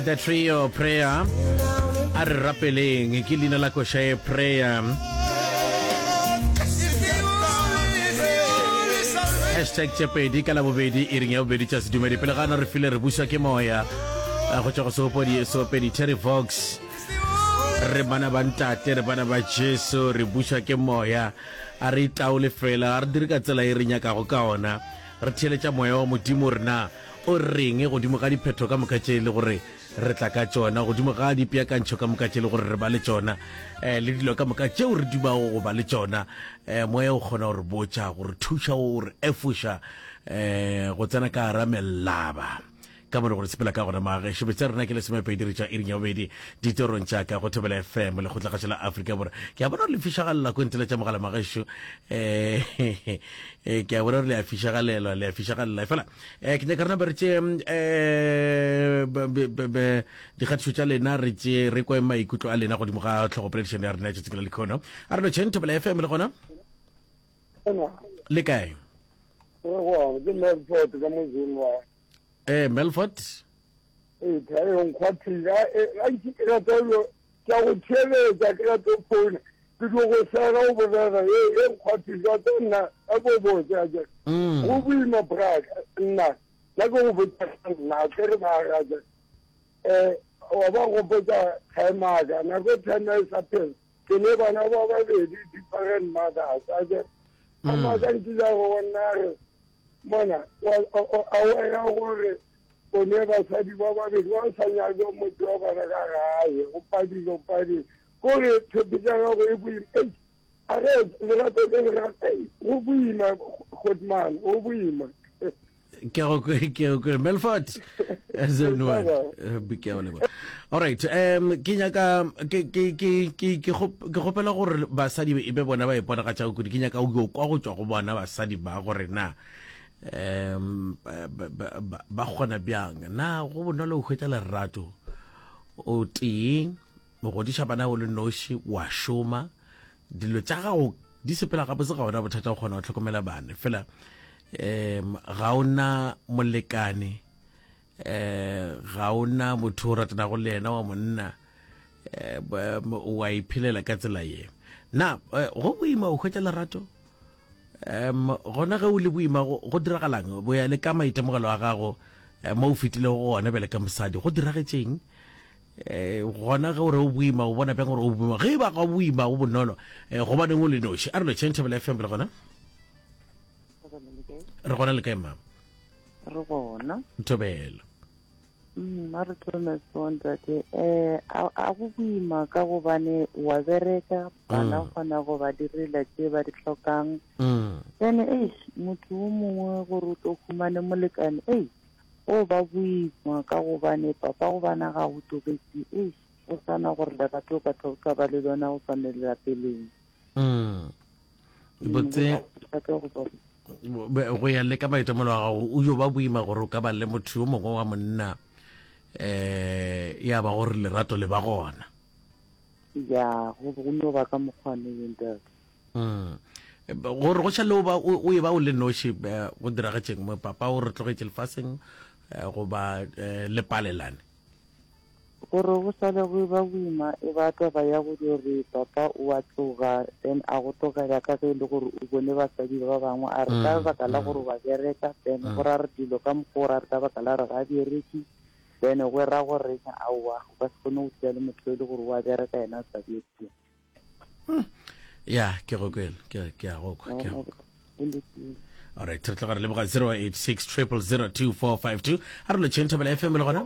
The Trio Prayer a re rapeleng ke leina la koša e prayer hashtag tšepedi ka labobedi e reng ya bobedi tša sedumedi pele gana re file re bušwa ke moya eh, go tšwa go seopedi seopedi Terry Fox re bana ba ntate re bana ba Jesu re bušwa ke moya a re itaole fela a re dire ka tsela e re nyakago ka ona re theeletša moya wa modimo rena O reng godimo ga diphetho ka moka tše e le gore re tla ka tšona, godimo ga dipeakantšho ka moka tše e le gore re ba le tšona, um le dilo ka moka tšeo re dumago go ba le tšona? Um Moya o kgona go re botša, go re thuša, go re efoša um go tsena ka gara melaba ka mo le gore sepela ka gona. Magešo betsa rena ke lesomepedi re tšwa iring ya bobedi ditorong tša ka go Thobela FM lekgotlakgašo la Afrika Borwa. Ke a bona gore le fišagalela ko ntele tša mogala magešo um ke a bona gore le a fišagalelwa, le a fišagalela fela Eh, ke nyaka rena ba re tše eh, dikgatišo tša lena re tše re kwe maikutlo a lena godimo ga tlhogopoledišano ya rena ya tšatsi la lekhono a re lotšheng thobela fm le gona le kae ke melford ka mozeng wa eh melford ee thae nkgwathile a ntse ke rata ke a go theeletša ke rata go founa ke tlo go sega o bolela e e nkgwathile wa tsa nna a ko botse a ke mm. go boima braka nna nna ke go botsa nna ke re ba rata eh wa ba gopotsa time nako time e sa phela ke ne bana ba babedi different mothers a ke a mm. maka nkile go nna re mona a wena gore O ne basadi ba babedi ba sa nyake motho wa bona ka gae, o padile, o padile. Kore tshepišo ya gago e boima. Ei, a ge lerato le lerato, ei, go boima, Godman, go boima. Ke go ke go Melford zone 1 eh, ke a leboga. All right, um ke nyaka ke ke ke ke ke gopela gore basadi e be bona ba iponagatšago kudu. Ke nyaka go kwa go tšwa go bona basadi ba gore na um ba kgona bjang na go bonolo go hwetša lerato o tee o godiša bana o le noši wa šoma dilo tša gago di sepela gabotse ga ona bothata go kgona go hlokomela bana fela um ga o na molekane um ga o na motho o ratanago le yena wa monna um wa iphelela ka tsela ye na eh, go boima o hwetša lerato um gona ge o le boima go diragalang bo ya le ka maitemogelo a gago eh, mo o fetilego gona bjale ka mosadi go diragetšeng um gona ge o re o boima o bona bjang gore o boima ge e ba ga o boima go bonolo um gobaneng o le noši a re lotšheng thobela fm le gona re gona le kae mama re gona thobela Mm, a re thome so ntate um a go boima ka gobane wa bereka bana mm. kgona go ba direla tše ba di hlokang mm. then eish motho o mongwe gore o tlo humane molekane ei o ba boima ka gobane papa go bana ga go tobetse eish o sana gore lerato o ka tla o sa ba le lona go swane le la peleng botse go ya le ka maitemelo a gago o yo ba boima gore o ka ba le motho yo mongwe wa monna um ya ba gore lerato le ba gona ya go go no ba ka mokgwane yo ntate mm. gore go šale o ba o e ba o le noši eh, go diragetšeng mo papa o re tlogetše lefaseng eh, goba eh, le palelane Gore go sale go eba boima e ba taba ya go dio re papa o a tloga then a go tlogela ka ge e le gore o bone basadi ba bangwe a re ka lebaka la gore wa bereka then go ra re dilo ka mokgwa o ra re ka baka la re ga a bereke then go ra gore aowa o ka se kgone go dula le motho e le gore o a bereka yena a sa bereke. Ya ke go kwele ke ke a go kwa ke a go kwa. All right, re tloga re leboga 086 0002452 a re lotšheng thobela FM le gona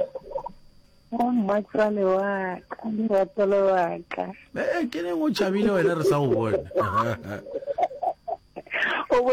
mmatswale wa ka lerato le wa ka eh ke neng o tšhabile wena re sa go bone.